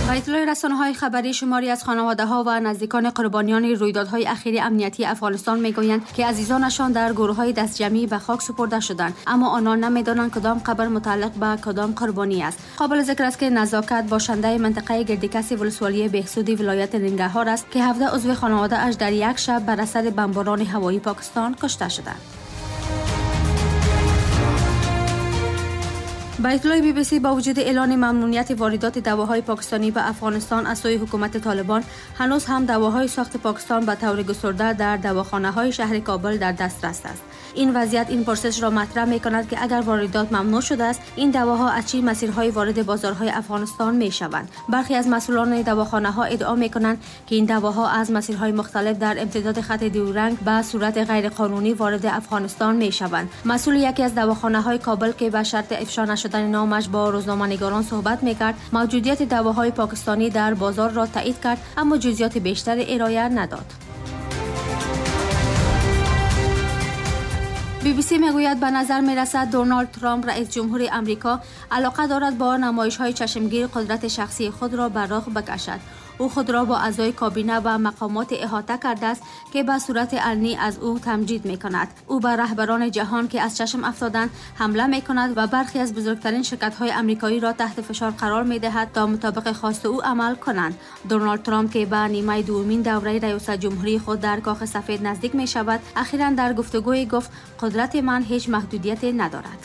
Ба иттилои расонаҳои хабарӣ, шумори аз хонаводаҳо ва наздикони қурбониёни рӯйдодҳои ахири амниятии Афғонистон мегӯянд, ки азизонашон дар гурӯҳҳои дастҷамъӣ ба хок супурда шуданд, аммо онон намедонанд кадом қабр мутааллиқ ба кадом қурбонӣ аст. Қобили зикр аст, ки Назокат бошандаи минтақаи Гирдикаси вилсуолии Беҳсуди вилояти Нингарҳор аст, ки 17 узви хонаводааш дар як шаб бар асари бамборони ҳавоии Покистон кушта шуданд. Ба иттилои Би-би-си, бо вуҷуди эълони мамнуъияти воридоти давоҳои покистонӣ ба Афғонистон аз сӯи ҳукумати Толибон, ҳанӯз ҳам давоҳои сохти Покистон ба таври густурда дар давохонаҳои шаҳри Кобул дар дастрас аст. Ин вазъият ин пурсишро матраҳ мекунад, ки агар воридот мамнӯъ шудааст, ин давоҳо аз чӣ масирҳои вориди бозорҳои Афғонистон мешаванд? Бархе аз масъулони давохонаҳо иддао мекунанд, ки ин давоҳо аз масирҳои мухталиф дар имтидоди хати дюранд ба сурати ғайриқонунӣ вориди Афғонистон мешаванд. Масъули яке аз давохонаҳои Кобул, ки ба шарти ифшо нашудани номаш бо рӯзноманигорон суҳбат мекард, мавҷудияти давоҳои покистонӣ дар бозорро таъид кард, аммо ҷузъиёти бештаре ироа надод. Би-би-си мегӯяд, ба назар мерасад Доналд Трамп, раис ҷумҳури Амрико, алоқа дорад бо намоишҳои чашмгир қудрати шахсии худро ба роҳ бикашад. Ӯ худро бо аъзои кабина ва мақомоти иҳота кардааст, ки ба сурати алнӣ аз ӯ тамҷид мекунад. Ӯ ба раҳбарони ҷаҳон, ки аз чашм афтоданд, ҳамла мекунад ва бархе аз бузургтарин ширкатҳои амрикоиро таҳти фишор қарор медиҳад то мутобиқи хости ӯ амал кунанд. Доналд Трамп, ки ба нимаи дуввумин давраи раёсат ҷумҳурии худ дар Кохи Сафед наздик мешавад, ахиран дар гуфтугӯе гуфт: қудрати ман ҳеҷ маҳдудияте надорад.